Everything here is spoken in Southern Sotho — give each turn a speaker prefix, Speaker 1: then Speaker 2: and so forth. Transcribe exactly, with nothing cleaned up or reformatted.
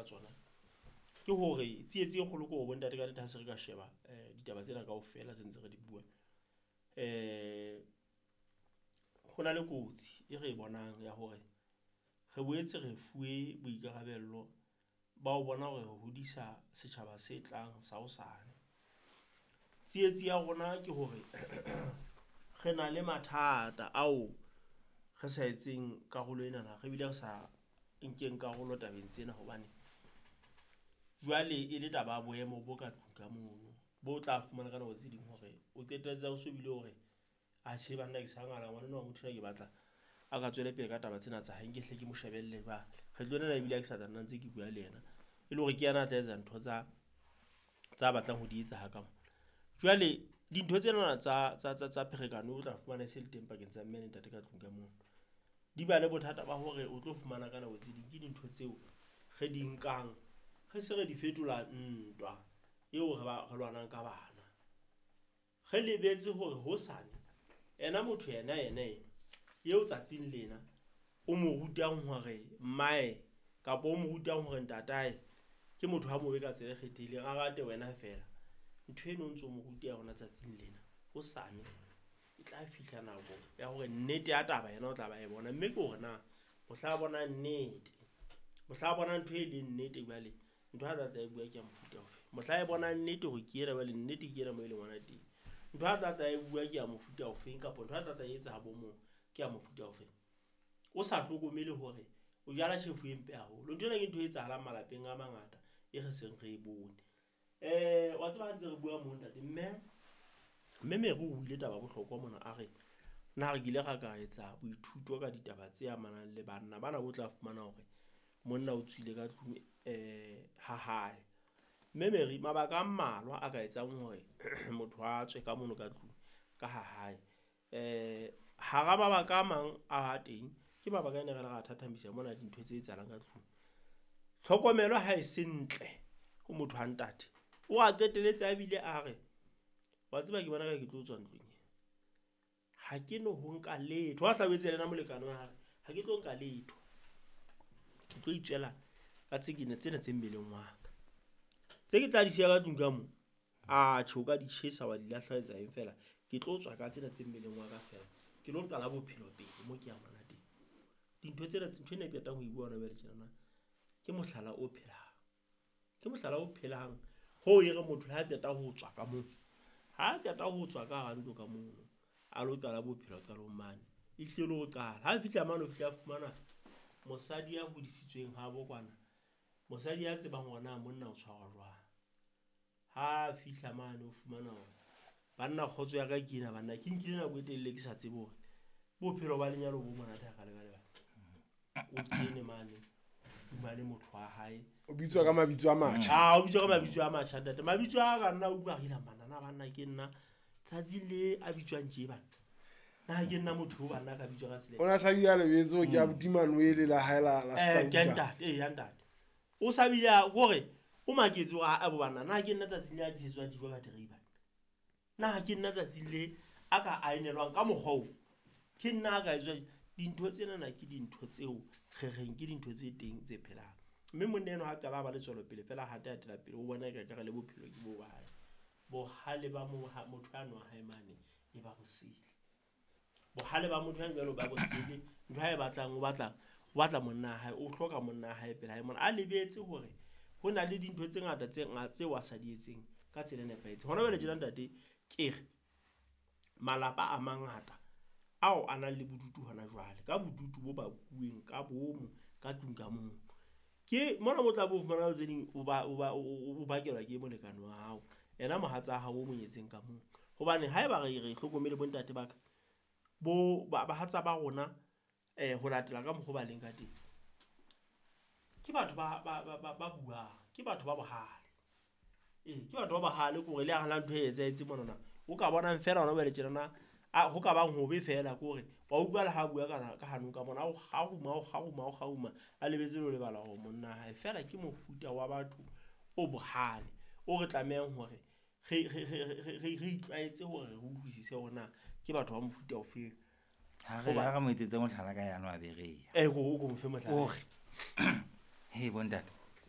Speaker 1: tsona ke hore tsietsi e kgolo ke hore bontate ka nnete ha se re ka sheba um ditaba tsena kaofela tse ntse re di bua, um ho na le kotsi e re e bonang ya hore re boetse re fuwe boikarabello ba ho bona hore re hodisa setjhaba se tlang sa hosane. Tsietsi ya rona ke hore re na le mathata ao re sa etseng karolo enana, re bile re sa nkeng karolo tabeng tsena hobane jwale e le taba ya boemo bo ka tlung ka mono, bo tla fumana ka nako tse ding hore o qetelletse o so bile hore atjhe banna ke sa ngala ngwana enwa wa motho enwa ke batla a ka tswele pele ka taba tsena tsa hae, nke hle ke mo shebelle jwale. Kgetlo lena ebile ha ke sa tla nna ntse ke bua le yena, e le hore ke yena a tla etsa ntho tsa tsa batlang ho di etsa ha ka mona. Jwale dintho tsena tsa tsa tsa tsa pherekano o tla fumana e se le teng pakeng tsa mme le ntate ka tlung ka mono. Di ba le bothata ba hore o tlo fumana ka nako tse ding ke dintho tseo re di nkang re se re di fetola ntwa eo re ba re lwanang ka bana. Re lebetse hore hosane ena motho yena yena ena eo tsatsing lena o mo rutang hore mmae kapa o mo rutang hore ntatae ke motho a mobe ka tsela e kgethehileng, a rate wena feela. Ntho eno o ntso mo ruta yona tsatsing lena, hosane e tla fihla nako ya hore nnete ya taba yena o tla ba e bona, mme ke hore na mohla a bona nnete, mohla a bona ntho e leng nnete jwale ntho a tla tla e bua ke ya mofuta ofe, mohla e bona nnete hore ke ena jwale nnete ke ena mo e leng hona teng, ntho a tla tla e bua ke ya mofuta ofeng, kapa ntho a tla tla e etsa ha bo mong ke ya mofuta ofeng. O sa hlokomele hore o jala tjhefu e mpe haholo. Ntho ena ke ntho e etsahalang malapeng a mangata e re seng re e bone. Eh wa tseba ha ntse re bua moo ntate, mme mme Mary o buile taba ya bohlokwa mona, a re na re kile ra ka etsa boithuto ka ditaba tse amanang le banna bana bo tla fumana hore monna o tswile ka tlung eh ha hae. Mme Mary, mabaka a mmalwa a ka etsang hore motho a tswe ka mono ka tlung ka ha hae. Eh hara mabaka a mang a teng ke mabaka a ne re le ra thathamisa mona dintho tse etsahalang ka tlung. Tlhokomelo ha e se ntle ho motho wa ntate, o a qetelletse a bile a re wa tseba ke bona ka ke tlo tswa ntlong e, ha ke no ho nka letho. Ha hlabetse le yena molekane wa hae, ha ke tlo nka letho, ke tlo itswela ka tse ke tsena tse mmeleng wa ka, tse ke tla di siya ka tlung ka mo, a tjho ka di tjhesa wa di lahla etsa eng fela, ke tlo tswa ka tsena tse mmeleng wa ka fela, ke lo qala bophelo pele mo ke yang hona teng. Dintho tsena, ntho ena e qetang ho e bua hona jwale tjenana ke mohlala o phelang, ke mohlala o phelang ho e re motho ha qeta ho tswa ka moo, ha qeta ho tswa ka hara ntlo ka moo, a lo qala bophelo qalong mane, e hlile ho qala. Ha fihla mane o fihla a fumana mosadi ya hodisitsweng ha bo kwana, mosadi ya tsebang hore na monna o tshwarwa jwang. Ha fihla mane o fumana hore banna kgotso ya ka ke ena, banna ke nkile nako e telele ke sa tsebe hore bophelo ba lenyalo bo monate ha ka le ka lebaka. O kene mane, fumane motho wa hae.
Speaker 2: O bitswa ka mabitso a matjha.
Speaker 1: Ah, o bitswa ka mabitso a matjha ntate. Mabitso a ka nna utlwa re banna na banna ke nna tsatsi le a bitswang tje bana. Na ke nna motho o banna ka bitswa ka tsela.
Speaker 2: O na sa bile lebetso ke abuti Manuel la hae la la
Speaker 1: Eh, ke ntate, eh ya ntate. O sa bile hore o maketse hore a bo banna na ke nna tsatsi le a disetswa dijo ka three bana. Na ke nna tsatsi le a ka aenelwang ka mokgwa o. Ke nna ka etswa dintho tsena na ke dintho tseo re reng ke dintho tse teng tse phelang. Mme monna enwa ha qala ba le tswelopele fela ha a atela pele o bona e ka re le bophelo ke bo ba hae. Bohale ba motho a nwa hae mane e ba bosele. Bohale ba motho ya jwalo ba bosele, ntho ha e batlang o batla o batla monna hae, o hloka monna hae pele hae mona. A lebetse hore ho na le dintho tse ngata tse ngata tseo a sa di etseng ka tsela e nepahetseng. Hona jwale tjena ntate ke re malapa a mangata ao a nang le bodutu hona jwale, ka bodutu bo bakuweng ka bomo ka tlung ka moo. Ke mona mo tla bo fumana tse ding o ba o ba o bakelwa ke molekane wa hao, yena mohatsa hao o monyetseng ka moo. Hobane haeba re re hlokomele bontate ba ka bo bahatsa ba rona eh ho latela ka mokgwa ba leng ka teng, ke batho ba ba ba ba buang, ke batho ba bohale. Eh ke batho ba bohale ke hore le ha ntho e etsahetse mona o ka bonang fela hona jwale tjenana a ho ka bang hobe fela ke hore wa utlwa le ha bua ka ka hanong ka bona o kgaruma o kgaruma o kgaruma a lebetse le lebala hore monna hae fela ke mofuta wa batho o bohale o re tlamehang hore re re re re re itlwaetse hore re utlwisise hore na ke batho ba mofuta ofe.
Speaker 3: Ha re ha re mo etsetse mohlala ka yano a bereya.
Speaker 1: Eh go go mo fe mohlala.
Speaker 3: O re he bontate